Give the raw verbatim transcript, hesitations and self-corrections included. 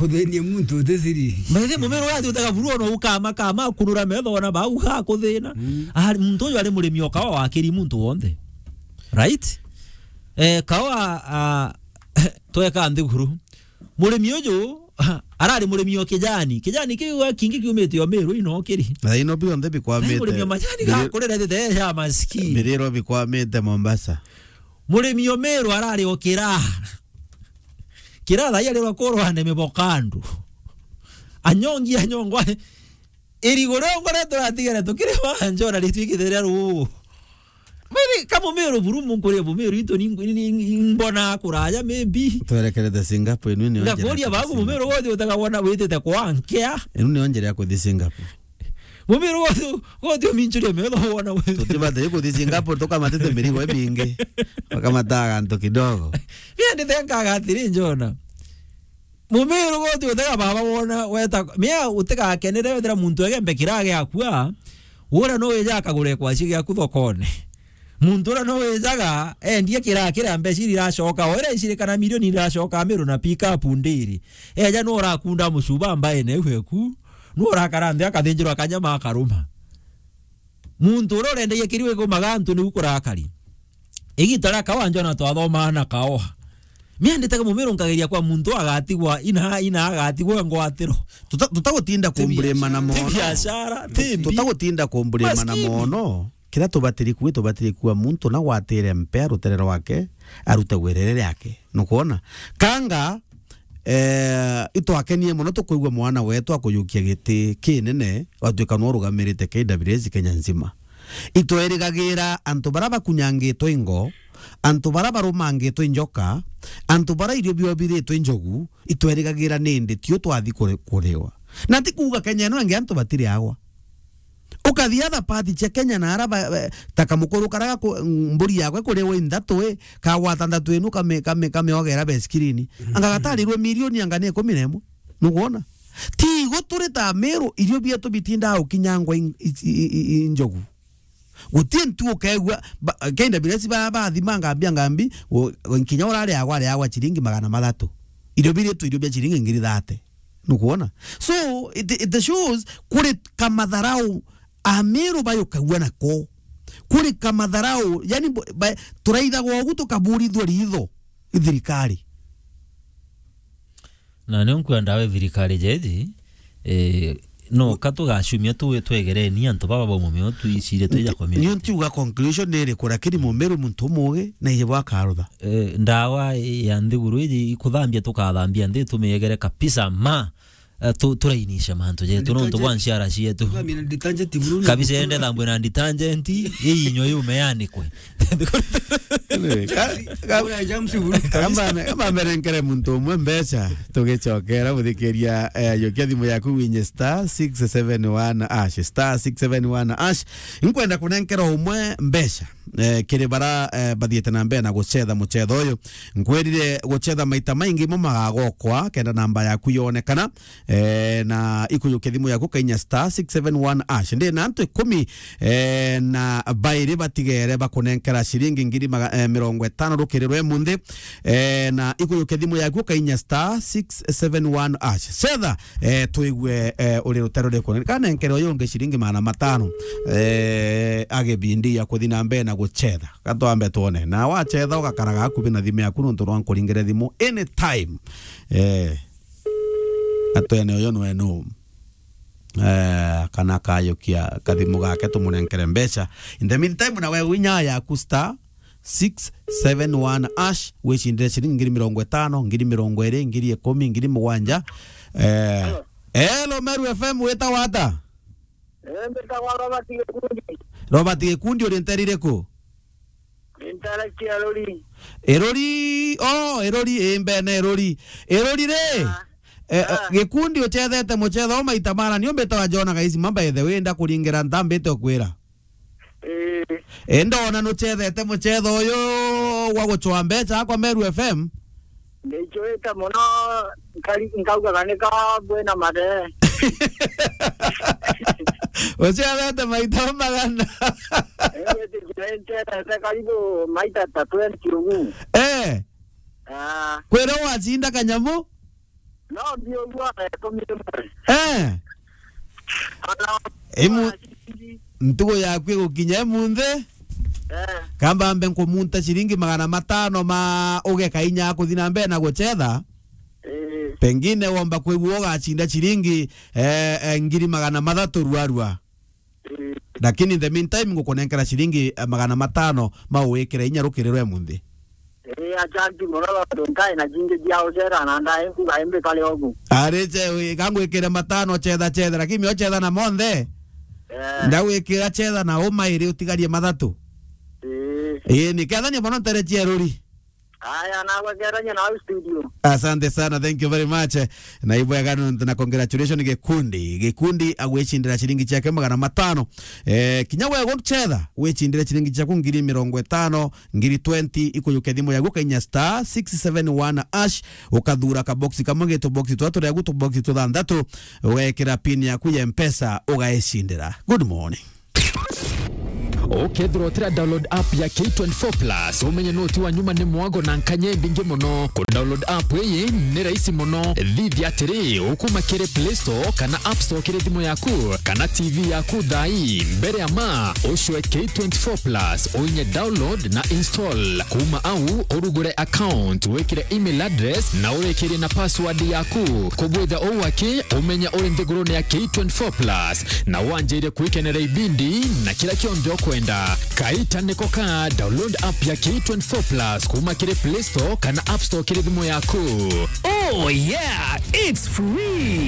Kuthenia muntu uti siri. Maithi mumero wa thiutaga buru ona ukama kama kunura metho ona bau ha kuthina. Mm. Ari muntu uyu ari murimi o kawa wakiri muntu wonthe. Right? Eh, kawa, ah, tweka nthiguru. Murimi uyu, arari murimi o kijani. Kijani kiu kingi kiumite o Meru ino kiri. Na ino bionthe bikwamite. Murimi o majani gakurira thithe ya maskini. Biriro bikwamite Mombasa. Murimi o Meru arari o kira. Kira thaia riro kurwa ne mibokandu. Anyongi, anyongwa. Irigo rio ngore turatigere tukiri wa njona ritwikithiria ruu. Maithi, ka mumiru buru munkuria mumiru itu ni, ni, ni, ni mbona kuraya maybe. Twerekerete Singapore, inu ni onjera. Ngakuria ya kuthi bagu Singapore. Mumiru wothi utaga wona witite kwa nkea. Inu ni onjera ya kuthi Singapore. Mumiru wothi, wothi uminchuria metho wona witite. Tutibate kuthi Singapore, tukamatite mirigo ibingi. Tukamataga antu kidogo. Pia nditenkaga atiri njona. Mumiru guti utega baba wona weta mia utigakenere wethira muntu egembe kirage akua. Ura no wija akagure kwaci giaku thokone. Muntu ura no wijaga endie kira kira mbeca iria iracoka, o iria icirikana milioni iracoka miru na pick up ndiri. Eja no urakunda mucuba mbaene iu eku. No urakara nthi akathinjirwa kanyama akaruma. Muntu uria urendagia kiriu igumaga antu niu kurakari. Igita ria kawa njona twathomaa na kawa. Mianditaga mumiru nkageria kwa muntu agatigwa ina, ina agatigwa ngwatiro. Tuta-, tutagutinda ti kumburima na biashara, ti mono. Ti biashara, ti mbi. Tutagutinda kumburima na mono. Maskini. Kira tubatiri kuwa, tubatiri kuwa muntu na gwatire mpea rutere rwake, arute wirere riake. Nukwona? Kanga, eh, itwakenie mono tukwigua mwana wetu akuyukia giti kinene, watuika nwe urugamirite K W S Kenya nzima. Itwerigagirira antu bara bakunyangitwe ingo, antu bara barumangitwe injoka, antu bara irio biao biritwe injogu, itwerigagirira nindi tio twathi kuri-, kuriwa. Na ti kuuga Kenya ino ingi antu batiriagwa. Ukathi other part cia Kenya na ara ba, ba, ta kamukuru kara gaku-, mburi yakwe kuriwa inthatu i, kagwata nthatu inu kame-, kame-, kameogera besikirini. Anga gatarirwe milioni anga ni ikumi na imwe. Nukwona? Ti igo turi ta Meru, irio bietu bitindaa gukinyangwa in-, i-, i-, i-, i-, injogu. Guti ntu ukeegua, ba-, K W S ba-, bathima ngambi, ngambi, u-, u-, nkinya urariagwa, ariagwa ciringi magana mathatu. Irio biri tu, irio bia ciringi ngiri thate. Nukwona? So, it, it shows kuri kamatharau Ameru bayukagua nako. Kuri kamatharau, yani, bo-, ba-, turaithagwa ugu tukaburithua ritho i thirikari. Na nio nkwenda we thirikari jeji, eh, no ka tugacumia tu twegereni antu baba bauma mio tuicire twija community. Nio ntiuga conclusion ni iriku, lakini mumiru muntu umugi na ije bwakarutha. Eh, ndawa ya nthiguru iji ikuthambia tukathambia nthi tumiegere kabisa ma, eh, tu-, turainisha mantu jetu nontu bwa nchiara cietu. Kabisa ende thambwe na detergent, iinywe yume yanikwe. Ka-, ka-, kamba me-, kamba merenkere muntu umwe mbeca, tugicokera guthikiria, eh, yukia thimu yaku winye star six seven one hash, star six seven one hash. Nkwenda kunenkera umwe mbeca, eh, kiri bara, eh, bathiete na mbere na gucetha mucetho uyu. Nkwirire gucetha maita maingi mo magagokwa, kenda namba yaku yonekana. Eh, na ikuyukia thimu yaku kainya star six seven one hash. Ndi na antu ikumi, eh, na bairi batigere bakunenkera ciringi ngiri maga-, eh, mirongo itano rukiri rwe munthi. Eh, na ikuyukia thimu yaku kainya star six seven one hash. Cetha, eh, twigue, eh, uri rutero riku. Kanenkere uyu ungi ciringi magana matano. Eh, agibindi ya kuthi na mbere na gucetha. Gatwambe twone. Na wacetha ugakaraga akubi na thimu yaku nontu rwa nkuringire thimu anytime. Eh. Atwene uyu nwe nu. Eh, kana kayukia kathimu gake tumunenkere mbeca. In the meantime, na we winya yaku star six seven one hash, wicindire ciringi ngiri mirongo itano, ngiri mirongo iri, ngiri ikumi, ngiri mugwanja. Eh, hello. Hello, Meru F M, witagwa ata? Eh, mbitagwa Robert Gikundi. Robert Gikundi, uri nteri iriku? Ni ntara cia Ruri. Iruri, oh, Iruri, ii mbene Iruri. Iruri ri? Ah. Eh, eh, ah. Gikundi uchethete muchetho u maita mana, ni umbite wa Jona Gaisima, by the way, ndakuringira ntambite ukwira. Ii. Ii, ndona nuchethete muchetho uyu gwa guchwa mbeca akwa Meru F M. Ndichwite mono, nkari-, nkaugaga ni ka bwina mathe. Uciarete maita magana. Ii, witikire nchethete karibu maita ta twenty ugu. Eh. Ah. Kwira wacinda kanyamu? No, ndi uguo aretumire mwe. Eh. Ana Imu- ciringi. Ntugo yaku igukinya imunthi. Eh. Kamba mbe nkumunta ciringi magana matano ma ugeka inya kuthi na mbere na gucetha. Eh. Pengine womba kwigua ugacinda ciringi, eh, eh, ngiri magana mathatu ruarua. Eh. Lakini in the meantime, ngukunenkera ciringi, eh, magana matano ma uwikire inya rukiri rwa imunthi. Eh, acanti mono, tondu nkae na cingi cia ucera na ndae nkuga imbi kare ogu. Ari ce, wi, ka ngwikire matano cetha cetha, lakini mio cetha na monthe. Eh. Ndagwikira cetha na uma iri utigarie mathatu. Eh. Ii, ni kethania mono ntere cia ruri. Aya, nagwekerania nau studio. Asante sana, thank you very much. Na ibwega nontu na congratulations gikundi. Gikundi agwicindira ciringi ciake magana matano. Eh, kinya we gucetha, wicindire ciringi ciaku ngiri mirongo itano, ngiri twenty, ikuyuke thimu yaku, kainya star six seven one hash, ukathura ka box kamwe gitu box twa turia gutu box tuthanthatu, ugekira pin yaku ya Mpesa, ugaicindira. Good morning. Ukethirwa utira download app ya K twenty-four plus, umenye no ti wa nyuma ni mwago na nkanya imbingi muno. Ku download app iyi ni rahisi muno. Thithia atiri, ukuma kiri Play Store kana App Store kiri thimu yaku kana T V yaku thaa ii. Mbere ya ma, ucwe K twenty-four plus, uinye download na install. Kuma au, urugure account, wikire email address na urikirie na password yaku. Kubwitha uu aki, umenye uri nthigurune ya K twenty-four plus na wanjire kwikenera ibindi na kira kionthe ukwenda. Kaita niko ka, download app ya K twenty-four plus kuma kiri Play Store kana App Store kiri thimu yaku. Oh yeah, it's free.